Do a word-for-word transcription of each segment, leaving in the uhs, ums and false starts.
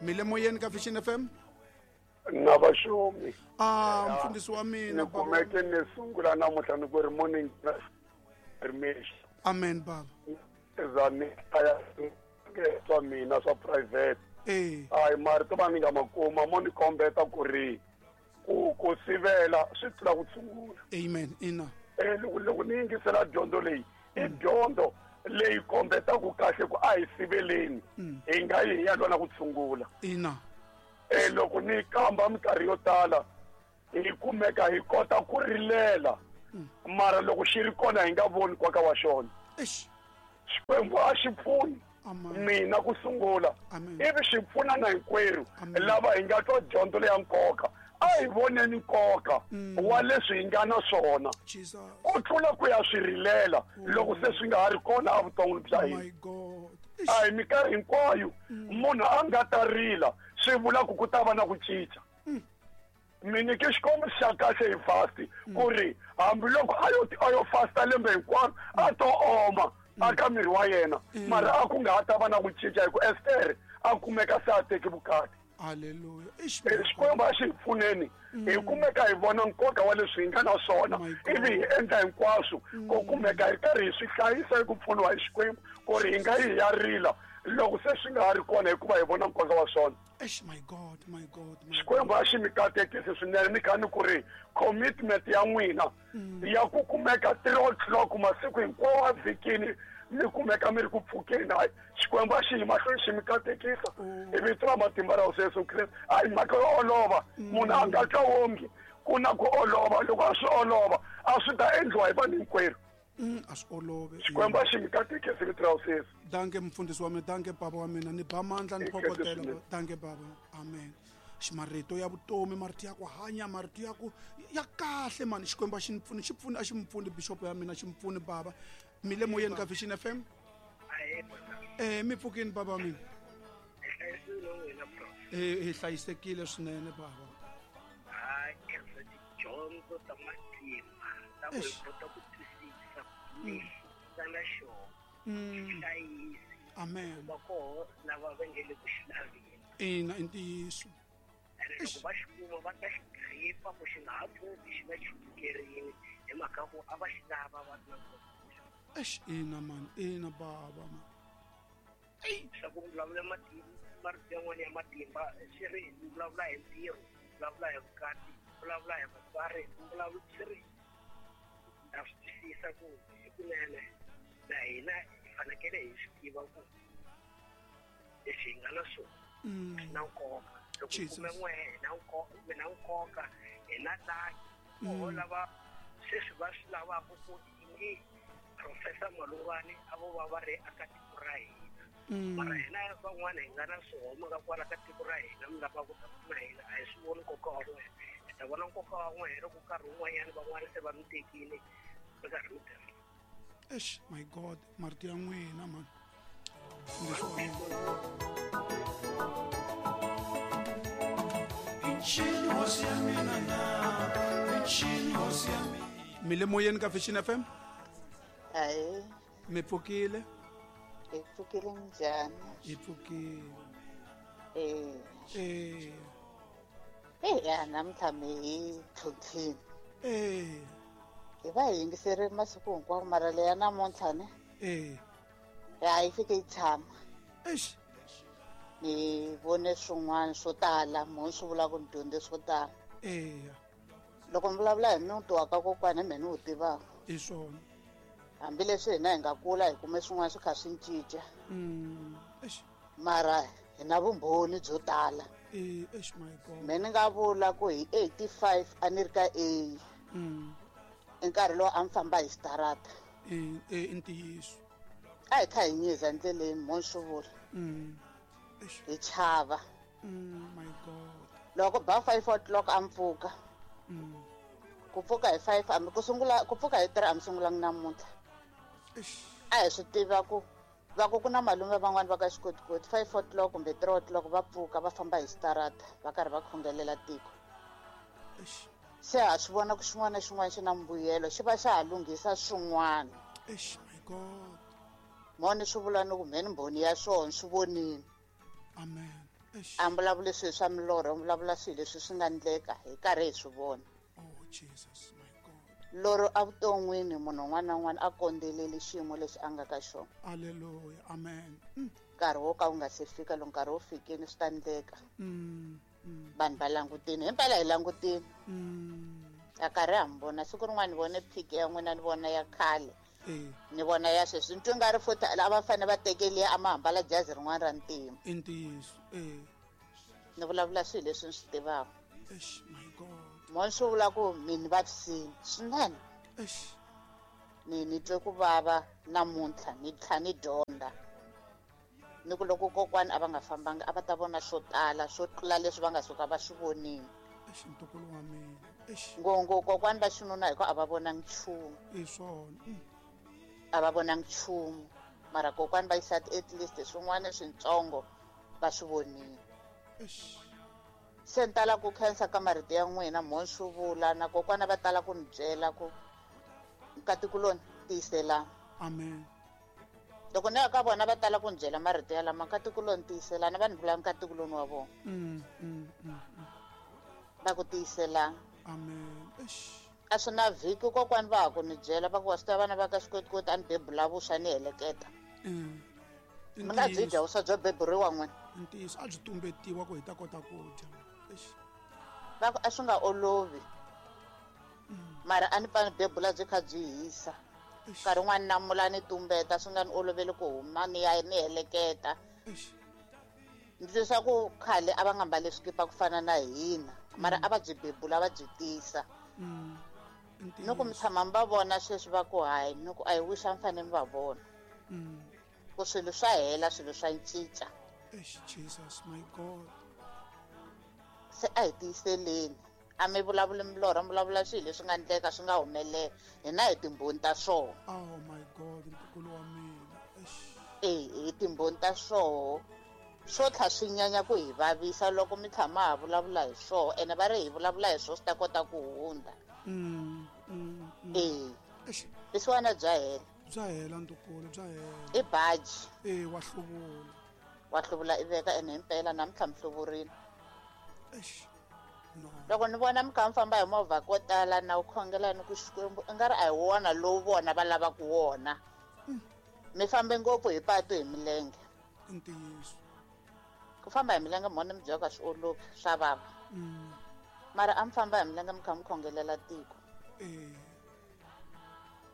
Mi le moyeni ka Vision F M? Na vaxumi. Ah, mfundhisi wa mina. Ni kumeke ni sungula namuntlha ni ku ri morning rimexi. Amen baba. Za ni aya swa mina swa private. Eh. Hayi marito va ni nga ma kuma mo ni kombeta ku ri ku ku sivela swi tlula ku tshungula. Amen. Ina. Eh loko loko ni yingisela dyondzo leyi i dyondzo leyi kombetaka kahle ku a hi siveleni hi nga yi hi ya lwa na ku tshungula. Ina. Eh loko ni kamba minkarhi yo tala hi kumeka hi kota ku rilela mara loko xi ri kona hi nga voni nkoka wa xona. Eish. Xikwembu a xi pfuni mina ku sungula ivi xi pfuna na hinkwerhu lava hi nga twa dyondzo leya nkoka. A hi voneni nkoka wa leswi hi nga na swona ku tlula ku ya swi rilela loko se swi nga ha ri kona evuton'wini bya hina. A hi minkarhi hinkwayo munhu a nga ta rila swi vula ku ku ta va na ku cinca. Mi nyike xikombiso xa kahle hi fast ku ri hambiloko a yo a yo fasta lembe hinkwaro a to oma aka miri wa yena mara a ku nga ha ta va na ku cinca hi ku Ester a kumeka se a teki vukati. Hallelujah. Xikwembu a xi hi pfuneni hi kumeka hi vona nkoka wa leswi hi nga na swona ivi hi endla hinkwaswo ku kumeka hi karhi hi swi hlayisa hi ku pfuniwa hi Xikwembu ku ri hi nga yi hi ya rila loko se swi nga ha ri kona hikuva hi vona nkoka wa swona. Eish, my God, my God. Xikwembu a xi mi katekisi swinene ni kha ni ku ri commitment ya n'wina ya ku kumeka three o'clock masiku hinkwawo a vhikini mi kumeka mi ri ku pfukeni. Hayi Xikwembu a xi yi mahlweni xi mi katekisa hi vito ra matimba ra Hosi Yesu Kreste. A hi mhaka yo olova, munhu a nga twa wongi ku na ku olova. Loko a swi olova a swi ta endliwa hi vanhu hinkwerhu. A swi olove. Xikwembu a xi mi katekisi vito ra Hosi Yesu. Danke mfundhisi wa mina, danke baba wa mina, ni ba mandla ni phokotela. Danke baba. Amen. Marito ya vutomi, marito ya ku hanya, marito ya ku ya kahle mani. Xikwembu a xi ni pfuni, xi pfuni a xi mi pfuni bishop ya mina, xi mi pfuni baba. Mi le moyeni ka Vision F M? Eh mi pfukini baba mina. Eh hi hlayisekile swinene baba. Hayi khensa tidyondzo ta matimba ta ku hi kota ku twisisa lexi nga na xona. Hlayisi. Amen. Va koho lava va nge le ku xi laveni. Ina i ntiyiso. Loko va xi kuma va ta xi gripa ku xi nga ha pfuki xi va xi pfukerini hi mhaka ku a va xi lava va ri na nkoka. Eish, ina man, ina baba man. Ei, swa ku vulavula matimba, marito yan'wana ya matimba swi ri vulavula hi ntirho, vulavula hi vukati, vulavula hi vatswari, vulavula swi ri na swi twisisa ku hikunene na hina hi fanekele hi swi tiva ku leswi hi nga na swona swi na nkoka. Loko hi kume n'we hi na nkoka, hi na nkoka, hi na laki koho lava sweswi va swi lavaka ku ingi Professor Malungwani a vo va va ri aka tiko ra hina. Mara hina van'wana hi nga na swihoma ka kwala ka tiko ra hina mi lava ku ta pfuna hina a hi swi voni nkoka wa n'wina. Hi ta vona nkoka wa n'wina loko nkarhi wun'wanyana van'wana se va mi tekile mi karhi mi tirha. Eish, my God, marito ya n'wina man. Mi le moyeni ka Vision F M? Hayi. Mi pfukile? Hi pfukile njhani? Hi pfukile. Eh. Eh. Eh ya namuntlha mi hi tlhontlhini. Eh. Hi va hi yingiseri masiku hinkwawo mara leya namuntlha ne? Eh. Ya yi fike yi tshama. Eish. Ni vone swin'wana swo tala, mo swi vula ku ni dyondze swo tala. Eh. Loko mi vulavula hi muti wa ka kokwana hi mehe ni wu tivaka. I swona. Hambileswi hina hi nga kula hi kume swin'wana swi kha swi cinca. Mm. Eish. Mara hi na vumbhoni byo tala. Eh, eish my God. Me ni nga vula ku hi eighty-five a ni ri ka A. Mm. I nkarhi lowu a mi famba hi xitarata. Eh, eh i ntiyiso. A hi kha hi nyiza endleleni mo ni swi vula. Mm. Eish. Hi chava. Mm, my God. Loko ba five o'clock a mi pfuka. Mm. Ku pfuka hi five a mi ku sungula ku pfuka hi three a mi sungulangi namuntlha. A hi swi tiva ku va ku ku na malume van'wani va ka xikotikoti five o'clock kumbe three o'clock va pfuka va famba hi xitarata va karhi va khongelela tiko. Se ha swi vona ku xin'wana na xin'wana xi na mbuyelo xi va xa ha lunghisa swin'wana. Eish my God. Mo ni swi vula ni ku mhe ni mbhoni ya swona swi vonini. Amen. A mi vulavuli swilo swa milorho, mi vulavula swilo leswi swi nga endleka hi karhi hi swi vona. Oh Jesus, my God. Loro evuton'wini munhu un'wana na un'wana a kondzeleli xiyimo lexi a nga ka xona. Hallelujah, amen. Mm. Nkarhi wo ka wu nga se fika, loko nkarhi wu fikile swi ta endleka. Mm. Mm. Vanhu va langutini, himpela hi langutini. Mm. A karhi ha mi vona siku rin'wana ni vone phiki ya n'wina, ni vona ya khale. Eh. Ni vona ya sweswi, ni twa nga ri futhi a va fanele va tekeliya a ma hambala jazi rin'wana ra ntima. I ntiyiso, eh. Ni vulavula swilo leswi ni swi tivaka. Eish, my God. Mo swi vula ku mi ni vavisile swinene. Eish. Ni ni twe ku vava namuntlha, ni tlha ni dyondza. Ni ku loko kokwani a va nga fambanga a va ta vona swo tala, swo tlula leswi va nga suka va swi vonile. Eish, ntukulu wa mina. Eish. Ngopfungopfu kokwani va xinuna hi ku a va vonangi nchumu. I swona. Mm. A va vonangi nchumu. Mara kokwani va xisati at least swin'wana swintsongo va swi vonile. Eish. Se ni tala ku khensa ka marito ya n'wina, mo swi vula na kokwana va tala ku ni byela ku nkatikuloni tiyiselani. Amen. Loko ni ya ka vona va tala ku ni byela marito ya lama, nkatikuloni tiyiselani, va ni vula nkatikuloni wa vona. Mm, mm, mm, mm. Va ku tiyiselani. Amen. Eish. A swi na vhiki kokwani va ha ku ni byela va ku wa swi tiva vana va ka xikotikoti a ni bebula vuswa ni heleketa. Mm. Mi nga byi dya vuswa byo beburiwa n'wina. Ntiyiso, a byi tumbetiwa ku hi ta kota ku dya. Eish. Va ku a swi nga olovi. Mara a ni pfa ni bebula byi kha byi hisa. Eish. Nkarhi wun'wani namula ni tumbeta, swi nga ni oloveli ku huma ni ya ni heleketa. Eish. Ni twisisa ku khale a va nga mbali swikipa ku fana na hina, mara a va byi bebula va byi tisa. Mm. Ni ku mi tshama mi va vona sweswi va ku hayi, ni ku a hi wish a mi fanele mi va vona. Mm. Ku swilo swa hela, swilo swa cinca. Eish, Jesus, my God. Se a hi tiyiseleni. A mi vulavuli milorho, mi vulavula swilo leswi nga endleka swi nga humelela. Hina hi timbhoni ta swona. Oh my God, ntukulu wa mina. Eish. Eh, hi timbhoni ta swona. Swo tlha swi nyanya ku hi vavisa loko mi tshama ha vulavula hi swona, ene va ri hi vulavula hi swona swi ta kota ku hundza. Mm, mm, mm. Eh. Eish. Leswiwani bya hela. Bya hela ntukulu, bya hela. I baji. Eh, wa hluvula. Wa hluvula i veka ene himpela namuntlha mi hluvurile. Eish. No. Loko ni vona mi kha mi famba hi movha ko tala na u khongela ni ku Xikwembu i nga ri a hi wona lowu vona va lavaka wona. Mi fambe ngopfu hi patu hi milenge. I ntiyiso. Ku famba hi milenge mhona mi byaka swi olovi, swa vava. Mm. Mara a mi famba hi milenge mi kha mi khongelela tiko. Eh.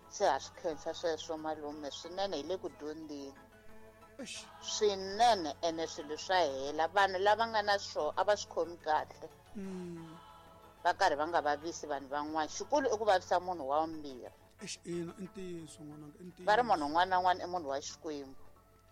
Se ha swi khensa sweswo malume swinene, hi le ku dyondzeni. Eish. Swinene ene swilo swa hela. Vanhu lava nga na swona a va swi khomi kahle. Mm. Va karhi va nga vavisi vanhu van'wana. Xikulu i ku vavisa munhu wa vumbirhi. Eish, ina, i ntiyiso n'wananga, i ntiyiso. Va ri munhu un'wana na un'wana i munhu wa Xikwembu.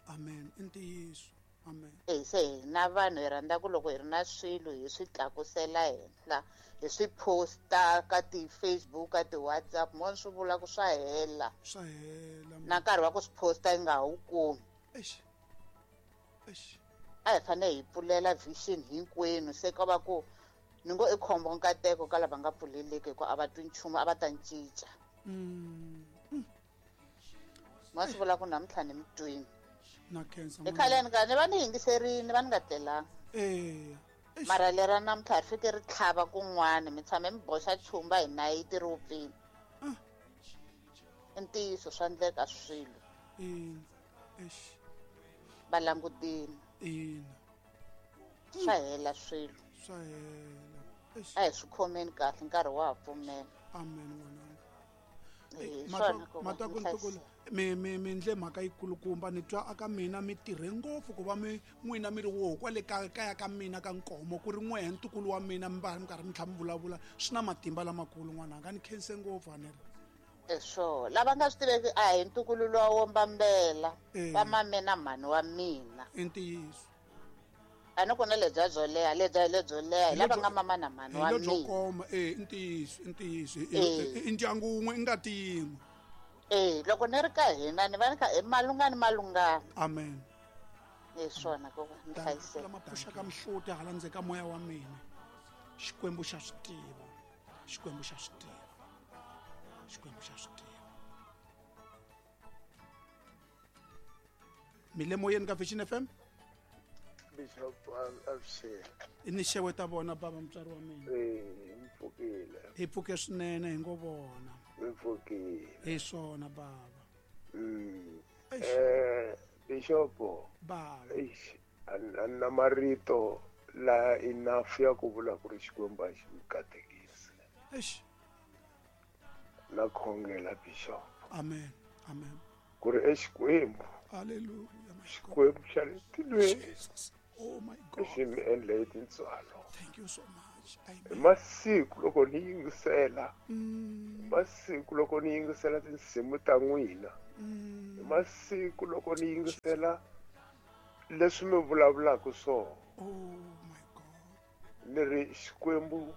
Amen, i ntiyiso. Amen. Eh, se hina vanhu hi rhandza ku loko hi ri na swilo hi swi tlakusela henhla, hi swi posta ka ti-Facebook, ka ti-WhatsApp, mo swi vula ku swa hela. Swa hela. Na nkarhi wa ku swi posta yi nga ha wu kumi. Eish. Eish. A hi fanele hi pfulela vision hinkwenu, se ka va ku ni ngo i khombo nkateko ka lava nga pfuleleki hikuva a va twi nchumu, a va ta cinca. Mm. Ma swi vula ku namuntlha ni mi twini. Na khensa Hi khaleni ka ni va ni yingiserini, va ni nga tlelanga. Eh. Eish. Mara lera namuntlha ri fike ri tlhava kun'wana, mi tshame mi boxa chumba hi nayiti ri wupfile. Ah. I ntiyiso swa endleka swilo. Ina. Eish. Va langutini. Ina. Swa hela swilo. Swa hela. Eish. A hi swi khomeni kahle, nkarhi wa ha pfumela. Amen n'wananga. Eh, Matwa- swona ku va matwa ku mi ntukulu, hlayiseka. mi, mi, mi ndle mhaka yikulukumba, ni twa aka mina mi tirhe ngopfu ku va mi n'wina mi ri woho kwale ka kaya ka mina ka Nkomo, ku ri n'wehe ntukulu wa mina mi va mi karhi mi tlhela mi vulavula, swi na matimba lamakulu n'wananga, ni khense ngopfu a ni ri. Eh, swo lava nga swi tiveki a hi ntukulu luwa wo mbambela, Eh. va mame na mhani wa mina. I ntiyiso. A ni ku na lebya byo leha, lebya hi lebyo leha, hi Hi lava lebyo nga mama na mhani hi wa lebyo mina. koma, eh, i ntiyiso, i ntiyiso. I, Eh. i, i ndyangu wun'we, i ngati yin'we. Eh, loko ni ri ka hina ni va ni kha i malungani malungani. Amen. Hi swona ku va ni Thank you. hlayiseka. Lama pfuxaka mihloti hala ndzeni ka moya wa mina. Xikwembu xa swi tiva. Xikwembu xa swi tiva. Xikwembu xa swi tiva. Mi le moyeni ka Vision F M? Bishop avuxeni. Ni xeweta vona baba mutswari wa mina. Eh, mi pfukile. Hi pfuke swinene hi ngo vona. Mi pfukile. Hi swona baba. Mm. Eh, Bishop. Baba. Eish, a na marito la enough ya ku vula ku ri Xikwembu a xi mi katekisi. Eish. Na khongela Bishop. Amen. Amen. Ku ri eXikwembu. Hallelujah. Xikwembu xa le tilweni. Jesus. Oh my God. Xi mi endle hi tintswalo. Thank you so much. Amen. Hi masiku loko ni yingisela. Mm. Hi masiku loko ni yingisela tinsimu ta n'wina. Mm. Hi masiku loko ni yingisela leswi mi vulavulaka swona. Oh my God. Ni ri Xikwembu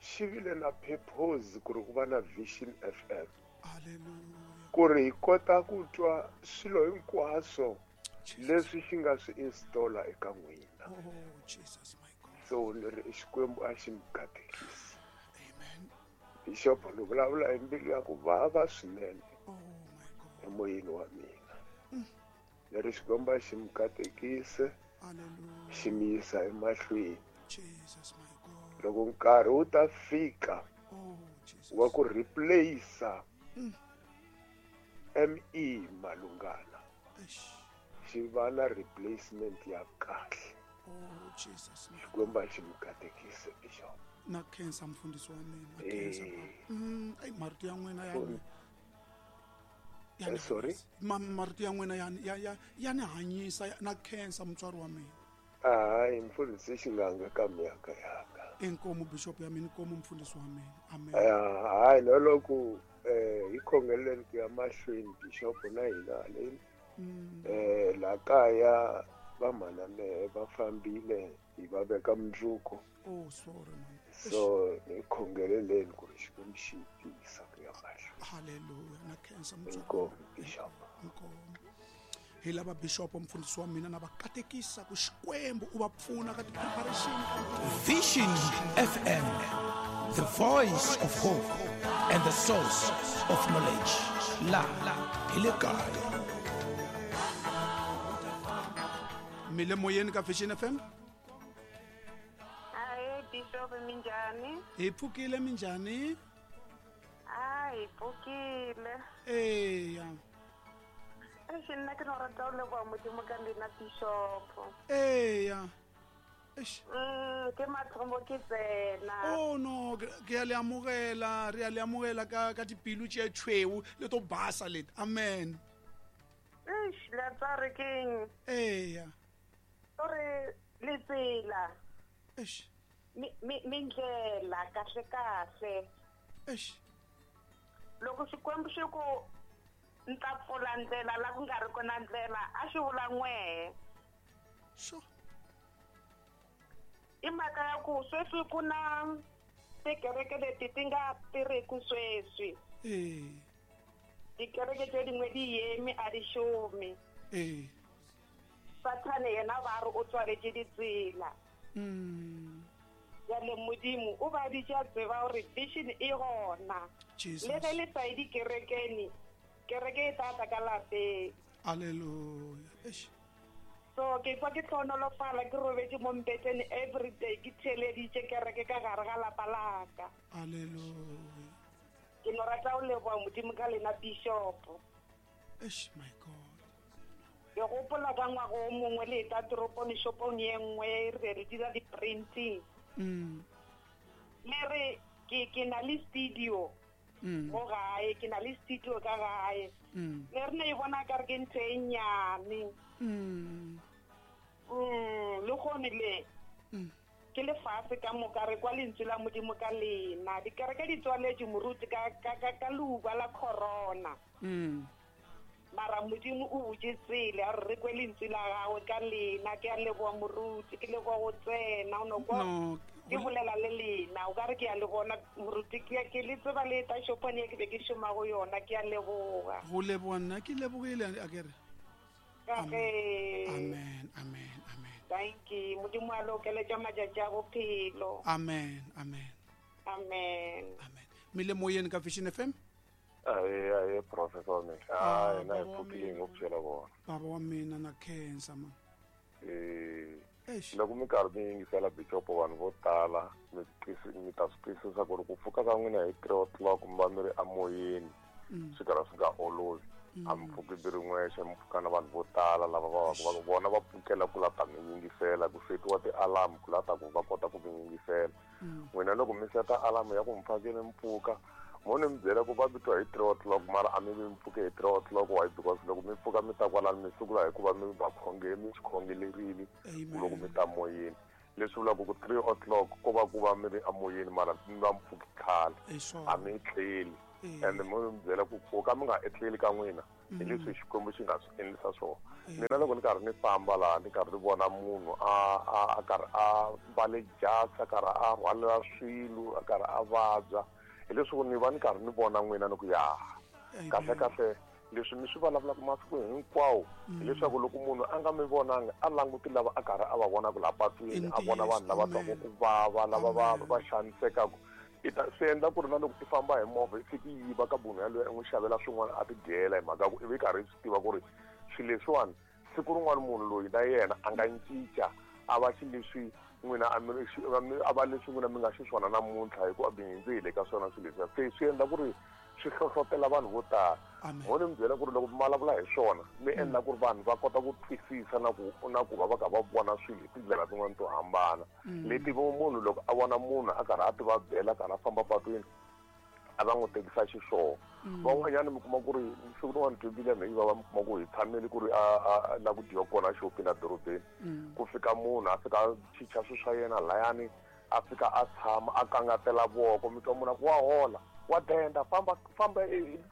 xi vile na purpose ku ri ku va na Vision F M. Hallelujah. Ku ri hi kota ku twa swilo hinkwaswo leswi xi nga swi installa eka n'wina. Oh Jesus my God. So ni ri Xikwembu a xi mi katekisi. Amen. Bishop ni vulavula hi mbilu ya ku vava swinene. Oh my God. Emoyeni wa mina. Mm. Ni ri Xikwembu a xi mi katekise. Hallelujah. Xi mi yisa emahlweni. Jesus my God. Loko nkarhi wu ta fika. Oh Jesus. Wa ku replace Mm. M E Malungana. Eish. Xi va na replacement ya kahle. Oh Jesus. Xikwembu a xi mi katekise Bishop. Na khensa mfundhisi wa mina. Na khensa. Eh. Mm, ay marito ya n'wina ya ni. Ya ni Eh, sorry. Ma marito ya n'wina ya ya ya ya ni hanyisa na khensa mutswari wa mina. Hayi mfundhisi xinganga ka miyaka yaka. Inkomo Bishop ya mina, inkomo mfundhisi wa mina. Amen. Hayi no loko eh hi khongeleni ku ya mahlweni Bishop na hina le. Mm. Eh la kaya va mhana mehe va fambile hi va veka mundzuku. Oh sorry man. So hi khongeleleni ku ri Xikwembu xi tiyisa ku ya mahlweni. Hallelujah. Na khensa mutswari. Inkomo Bishop. Inkomo. Hi lava Bishop mfundhisi wa mina na va katekisa ku Xikwembu u va pfuna ka ti-preparation ka Vision F M, the voice of hope and the source of knowledge. La hi le kaya. Mi le moyeni ka Vision F M? Hayi Bishop minjhani? Hi pfukile minjhani? A hi pfukile. Eya. Eish, nna ke no rata ho leboha Modimo ka lena Bishop. Eya. Eish. Mm, ke mathomo ke tsena. Oh no, ke a le amogela, re a le amogela ka ka dipilu tše tšhweu le to basa leti. Amen. Eish, la tsare keng? Eya. Ore le tsela. Eish. Mi mi mindlela kahle kahle. Eish. Loko Xikwembu xi ku nta pfula ndlela la ku nga ri kona ndlela a xi vula n'wehe. Sure. I mhaka ya ku sweswi ku na tikereke leti ti nga tirhiku sweswi. Eh. Tikereke tse dingwe di yemi a di šome. Eh. Sathane yena ba re o tswaletše ditsela. Mm. Jale Modimo o ba bitša tseba gore vision e gona. Jesus. Le ge le sa ye dikerekeng, kereke e tla tla ka lapeng. Hallelujah. Eish. So ke kwa ke hlohonolofala ke robetše mo mpeteng every day ke theeleditše kereke ka gare ga lapa la ka. Hallelujah. Ke no rata ho leboha Modimo ka lena Bishop. Eish my God. Ke gopola ka ngwaga o mongwe le eta toropong shopong ye nngwe re re dira di-printing. Mm. Le re ke ke na le studio. Mm. Mo gae ke na le studio ka gae. Mm. Le re ne e bona ka re ke ntho e nnyane. Mm. Mm, le gone le. Mm. Ke lefatshe ka moka re kwa lentswe la Modimo ka lena. Dikereke di tswaletše moruti ka ka ka ka leuba la corona. Mm. Mara Modimo o butše tsela a re re kwe lentswe la gagwe ka lena. Ke a leboha moruti, ke leboha go tsena o no kwa No, ke bolela le lena o ka re ke a le bona moruti ke ke le tseba le eta shopong e ke be ke šoma go yona. Ke a leboha. Go leboha nna ke lebogile a ke re. Ka ge. Amen, amen, amen. Thank you. Modimo a le okeletša matšatši a bophelo. Amen, amen. Amen. Amen. Mi le moyeni ka Vision F M? Aye, aye, Professor wa mina. Ah, Hayi, na hi baba wa pfukile mina. ngopfu byela vona. Baba wa mina na khensa man. Eh, Loko mi karhi mi yingisela bishop vanhu vo tala mi mi ta swi twisisa ku ri ku pfuka ka n'wina hi three o'clock mi va mi ri emoyeni swi karhi swi nga olovi. A mi pfuki mi ri n'wexe, mi pfuka na vanhu vo tala lava va va vona va pfukela ku la ta mi yingisela, ku setiwa ti-alarm ku la ta ku va kota ku mi yingisela. N'wina loko mi seta alarm ya ku mi fanekele mi pfuka, mo ni mi byela ku va mi twa hi three o'clock mara a mi vi mi pfuke hi three o'clock. Why? Because loko mi pfuka mi ta kwalano mi sungula hikuva mi va khonge mi swi khongelerile loko mi ta moyeni. Leswi vulaka ku three o'clock ko va ku va mi ri emoyeni mara mi va mi pfuki khale, a mi tleli. And mo mi byela ku ku ka mi nga etleli ka n'wina hi leswi Xikwembu xi nga swi endlisa swona. Mina loko ni karhi ni famba laha ni karhi ni vona munhu a a a karhi a mbale jasi, a karhi a rhwalela swilo, a karhi a vabya, hi leswi ni va ni karhi ni vona n'wina ni ku ya kahle kahle leswi mi swi vulavulaka masiku hinkwawo hileswaku loko munhu a nga mi vonanga a languti lava a karhi a va vonaka laha patwini, a vona vanhu lava twaka ku vava, lava va va xanisekaka. I ta swi endla ku ri na loko i famba hi movha i fiki yiva ka munhu yaloye i n'wi xavela swin'wana a ti dyela hi mhaka ku i vi karhi i swi tiva ku ri swilo leswiwani siku rin'wana munhu loyi na yena a nga cinca a va xileswi n'wina a a va leswi n'wina mi nga xiswona namuntlha hikuva mi hundze hi le ka swona swilo leswiya. Se swi endla ku ri swi hlohlotela vanhu vo tala. Mo ni mi byela ku ri loko mi vulavula hi swona mi endla ku ri vanhu va kota ku twisisa na ku na ku va va kha va vona swilo hi tindlela tin'wana to hambana leti munhu loko a vona munhu a karhi a ti vabyela, a karhi a famba patwini, a va n'wi tekisa xiswona. Van'wanyana mi kuma ku ri siku rin'wana dyondzile ya yi va mi kuma ku hi tshamele ku ri a a la ku dyiwa kona xopini edorobeni, ku fika munhu a fika a chicha swilo swa yena layani, a fika a tshama a kangatela voko, mi twa munhu a ku wa hola, wa denda, famba famba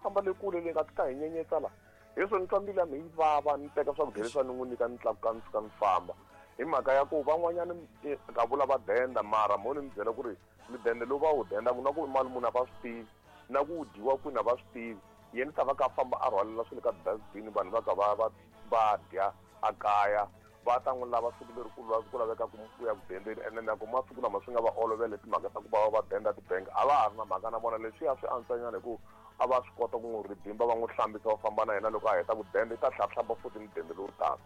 famba le kule le nga ti ta hi nyenyetsa la. Hi swona ni twa mbilu ya mina yi vava, ni teka swakudya leswi ni n'wi nyika ni tlakuka ni fika ni famba. Hi mhaka ya ku van'wanyana ka vula va denda mara mo ni mi byela ku ri midende lowu va wu dendaka na ku mali munhu a va swi tivi, na ku dyiwa kwini a va swi tivi. Yena ta va ka famba a rhwalela swilo ka dustbin, vanhu va ka va va va dya a kaya, va ta n'wi lava siku leri ku ku laveka ku ya ku dendeni. Ene na ku masiku lama swi nga va olovele timhaka ta ku va va denda tibangi, a va ha ri na mhaka na vona. Leswiya swi antswanyana hi ku a va swi kota ku n'wi ridimba, va n'wi hlambisa, va famba na yena loko a heta ku denda i ta hlahlamba futhi mudende lowu taka.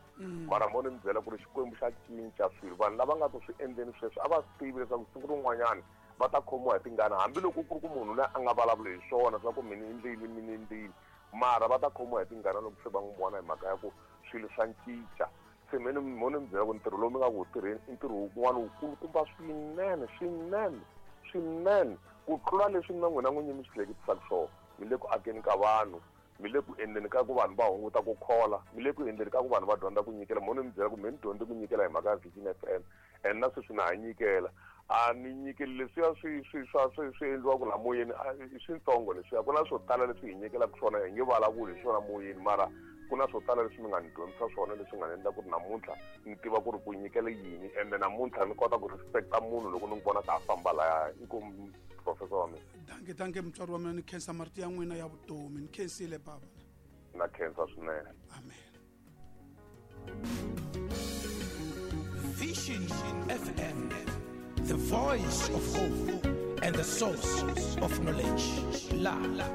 Mara mo ni mi byela ku ri Xikwembu xa cinca swilo. Vanhu lava nga ku swi endleni sweswi a va swi tivi leswaku siku rin'wanyana va ta khomiwa hi tingana, hambiloko ku ri ku munhu loyi a nga vulavuli hi swona swa ku mina endlile mina endlile, mara va ta khomiwa hi tingana loko se va n'wi vona hi mhaka ya ku swilo swa cinca. Se mina mo ni mi byela ku ntirho lowu mi nga ku wu tirheni i ntirho wun'wana wukulukumba swinene swinene swinene ku tlula leswi na n'wina n'winyi mi swi hleketisaka swona. Mi le ku akeni ka vanhu, mi le ku endleni ka ku vanhu va hunguta ku khola, mi le ku endleni ka ku vanhu va dyondza ku nyikela. Mo ni mi byela ku me ni dyondze ku nyikela hi mhaka ya Vision F M, and na sweswi na ha nyikela. A ni nyikeli leswiya swi swi swa swi swi endliwaka laha moyeni i switsongo leswiya. Ku na swo tala leswi hi nyikelaka swona, hi nge vulavuli hi swona moyeni, mara ku na swo tala leswi mi nga ni dyondzisa swona leswi nga ni endla ku ri namuntlha ni tiva ku ri ku nyikela yini, ende namuntlha ni kota ku respecta munhu loko ni n'wi vona ka a famba laya. Inkomu professor wa mina. Danke danke mutswari wa mina, ni khensa marito ya n'wina ya vutomi. Ni khensile baba. Na khensa swinene. Amen. Vision F M, the voice of hope and the source of knowledge. La, la,